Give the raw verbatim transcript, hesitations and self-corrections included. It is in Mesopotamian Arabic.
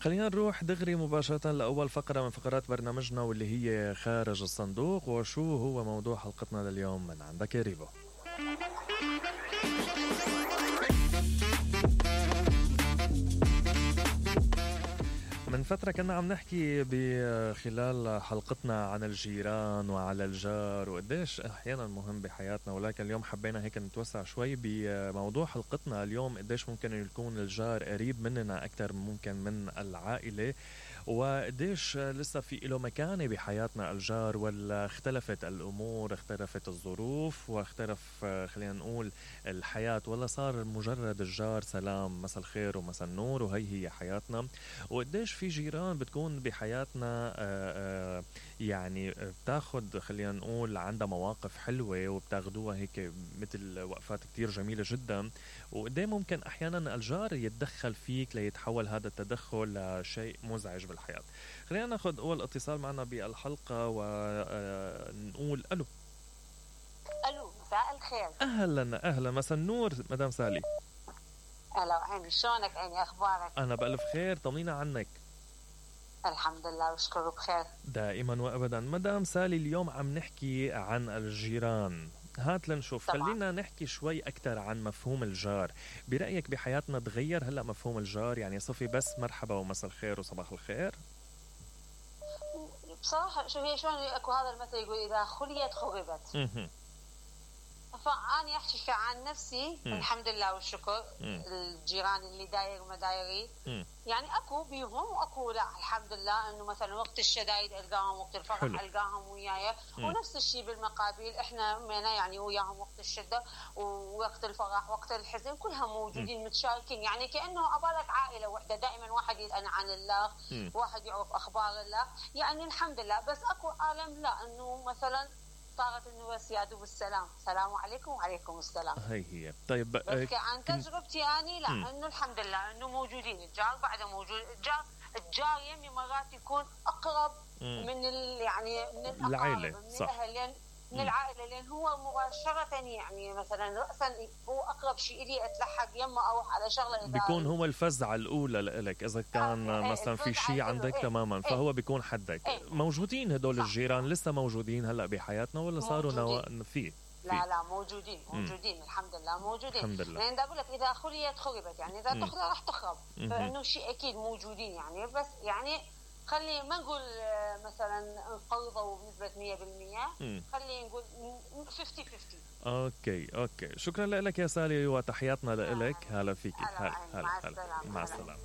خلينا نروح دغري مباشرة لأول فقرة من فقرات برنامجنا واللي هي خارج الصندوق. وشو هو موضوع حلقتنا لليوم من عندك يا ريبو؟ من فترة كنا عم نحكي بخلال حلقتنا عن الجيران وعلى الجار وقديش أحيانا مهم بحياتنا، ولكن اليوم حبينا هيك نتوسع شوي بموضوع حلقتنا اليوم. قديش ممكن يكون الجار قريب مننا أكتر ممكن من العائلة، وقديش لسه في له مكانة بحياتنا الجار، ولا اختلفت الأمور، اختلفت الظروف، واختلف خلينا نقول الحياة، ولا صار مجرد الجار سلام مساء الخير ومساء النور وهي هي حياتنا. وقديش في جيران بتكون بحياتنا آآ آآ يعني بتاخد خلينا نقول عندها مواقف حلوة وبتاخدوها هيك مثل وقفات كتير جميلة جدا، وقديه ممكن أحيانا الجار يتدخل فيك ليتحول هذا التدخل لشيء مزعج بالحياة. خلينا ناخد أول اتصال معنا بالحلقة ونقول ألو. ألو مساء الخير. أهلا أهلا مساء النور مدام سالي. أهلا عيني، شلونك عيني، أخبارك؟ أنا بألف خير، طمنينا عنك. الحمد لله وشكره بخير دائما وأبدا. مدام سالي اليوم عم نحكي عن الجيران، هات لنشوف. طبعا. خلينا نحكي شوي أكتر عن مفهوم الجار. برأيك بحياتنا تغير هلأ مفهوم الجار؟ يعني صفي بس مرحبا ومساء الخير وصباح الخير؟ بصراحة شو هي شلون أكو هذا المثل يقول إذا خليت خربت. فأنا أحكي عن نفسي. م. الحمد لله والشكر. م. الجيران اللي داير مدايري م. يعني أكو بيهم وأكو لا، الحمد لله إنه مثلا وقت الشدايد ألقاهم، وقت الفرح حلو. ألقاهم وياي. م. ونفس الشيء بالمقابل إحنا منا يعني وياهم وقت الشدة ووقت الفرح وقت الحزن كلها موجودين. م. متشاركين، يعني كأنه أبالك عائلة واحدة، دائما واحد يسأل عن الله. م. واحد يعرف أخبار الله، يعني الحمد لله. بس أكو عالم لا، إنه مثلا صارت انه بس يا دوب السلام، السلام عليكم وعليكم السلام. هي هي. طيب بس عن تجربتي اني لا، انه الحمد لله انه موجودين الجار، بعده موجود الجار. الجار يمي مرات يكون اقرب مم. من ال يعني من العائله، من صح، الاهل، من العائله، لان هو مباشره يعني مثلا راسا هو اقرب شيء لي اتلحق يمه اروح على شغله. بيكون هو الفزعه الاولى لك اذا كان آه مثلا في شيء عندك ايه تماما ايه فهو بيكون حدك. ايه موجودين هدول صح. الجيران لسه موجودين هلا بحياتنا ولا صاروا نو... في لا لا موجودين موجودين م. الحمد لله موجودين. الحمد لله. يعني اقول لك اذا خليت خربت، يعني اذا تخرب راح تخرب، فانه شيء اكيد موجودين يعني. بس يعني خلي ما نقول مثلا انقرضوا بنسبة مية بالمية، خلي نقول خمسين خمسين. اوكي اوكي، شكرا لك يا سالي وتحياتنا لك. هلا فيك. هلا هلا. مع السلامة. مع السلامة.